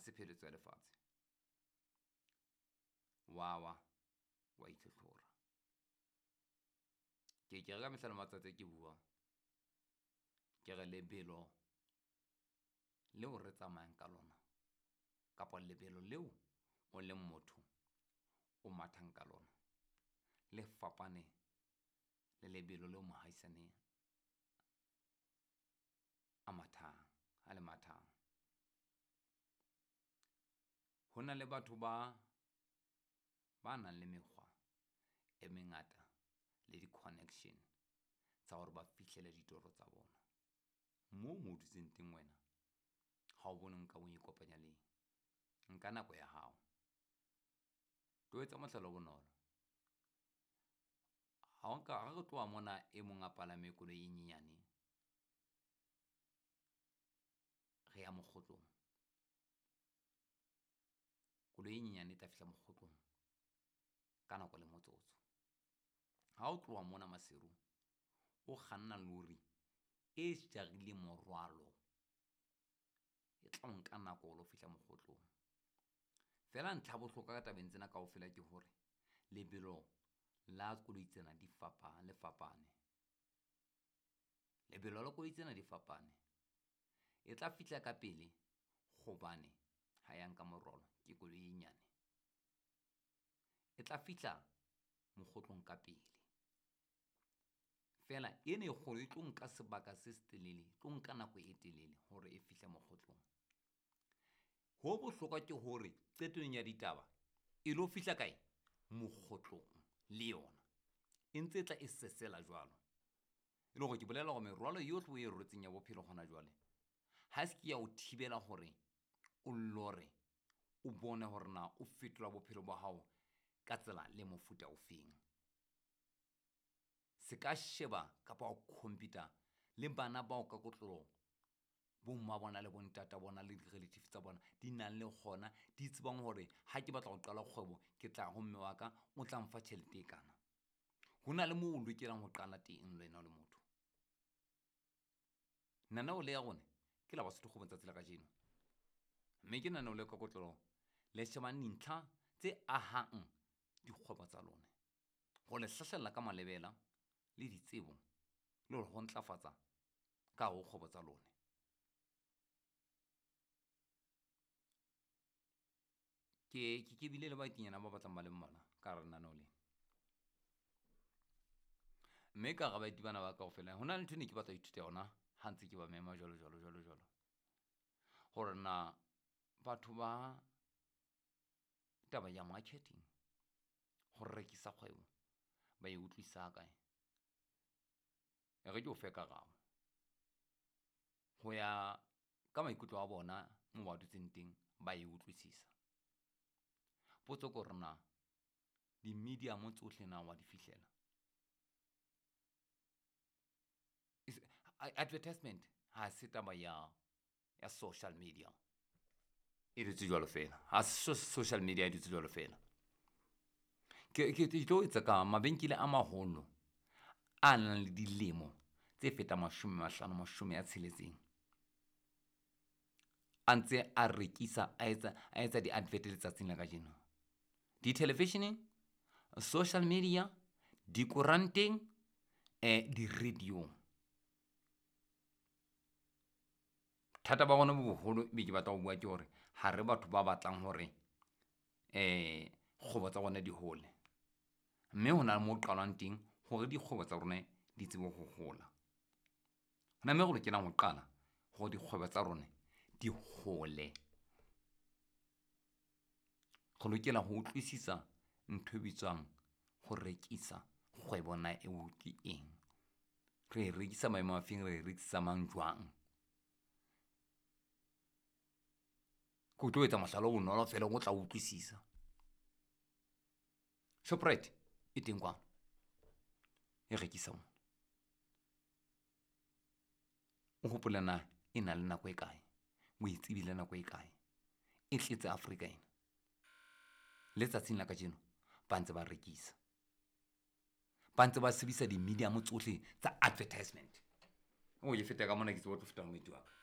se pheletso ya lefatshe. Wa wa, wa itlhotlhora. Ke ke re ka mehla le matsatsi ke bua, ke re lebelo leo re tsamayang ka lona kapa lebelo leo o leng motho o mathang ka lona le fapane le lebelo leo mohaisane a mathang, a le mathang. Ho na le batho ba nang le mekgwa e mengata le di-connection tsa hore ba fihlele ditoro tsa bona. Moo mo dutseng teng wena ha o bone nka o ikopanya le eng, nka nako ya hao. Ke o etsa mohlala o bonolo, ha o nka ha re tloha mona e mong a palame koloi e nyenyane, re ya mokgotlong. Koloi e nyenyane e tla fihla mokgotlong ka nako le motsotso. Ha o tloha mona Maseru o kganna lori e jarileng morwalo, e tla o nka nako o lo fihla mokgotlong. Feela ntlha ya bohlokwa ka tabeng tsena kaofela ke hore lebelo la koloi tsena di le fapane. Lebelo la koloi tsena di fapane, e tla fihla ka pele hobane ha ya nka morwalo ke koloi e nyane. E tla fihla mokgotlong ka pele, feela ena e kgolo e tlo nka sebaka se setelele, e tlo nka nako e telele hore e fihle mokgotlong. Ho bohlokwa ke hore qetellong ya ditaba e lo fihla kae, mokgotlong le yona e ntse e tla e sesela jwalo. E le hore ke bolela hore merwalo yohle o e rwetseng ya bophelo hona jwale, ha se ke ya o thibela hore o lore, o bone hore na o fetola bophelo ba hao ka tsela le mofuta ofeng. Se ka sheba kapa ho compete-a le bana bao ka kotloloho bomma bona le bontata bona le di-relative tsa bona di nang le kgona di tsebang hore ha ke batla ho qala kgwebo, ke tla ho mme wa ka o tla mfa tjhelete e kana. Ho na le moo o lokelang ho qala teng le wena o le motho. Lenaneo le ya rona ke la Basotho Kgwebong tsatsi la kajeno, mme ke lenaneo le ka kotloloho le shebang dintlha tse ahang dikgwebo tsa lona, ho le hlahlella ka malebela le ditsebo le ho ntlafatsa ka hare ho kgwebo tsa lona. Ke bile le baetinyana ba batlang ba le mmalwa ka hara lenaneo lena, mme ka hara baeti bana ba kaofela ho na le ntho e ne ke batla ho ithuta yona ha ntse ke ba mema jwalo jwalo jwalo jwalo, hore na batho ba taba ya marketing, ho rekisa kgwebo ba e utlwisisa kae. E re ke o fe karabo ho ya ka maikutlo a bona moo ba dutseng teng ba e utlwisisa. Potso ke hore na di-medium tsohle na wa di fihlela. Advertisement ha se taba ya social media e dutse jwalo fela, ha se social media e dutse jwalo fela. Ke tlo etsa ka mabenkele a maholo a nang le dilemo tse fetang 50, 60 a ntse a rekisa, a etsa di-advert letsatsing la kajeno. Di-television-eng, social media, dikoranteng, di-radio-ng. Thata ba rona bo boholo be ke batla ho bua ke hore ha re batho ba batlang hore kgwebo tsa rona di hole, mme hona le mo qalwang teng hore dikgwebo tsa rona di tsebe ho hola. Hona mme re lokelang ho qala hore dikgwebo tsa rona di hole. Re lokela ho utlwisisa ntho e bitswang ho rekisa kgwebo na eo ke eng, re e rekisa maemo a feng, re e rekisa mang jwang. Ke o tlo etsa mohlala o bonolo fela o tla utlwisisa. Shoprite e teng kwano, e rekisa mona. O hopole na e na le nako e kae, o e tsebile nako e kae, e tletse Afrika ena. Letsatsing la kajeno ba ntse ba rekisa, ba ntse ba sebedisa di-medium tsohle tsa advertisement. O ke feta ka mona ke tsebe o tlo feta moeti wa ka.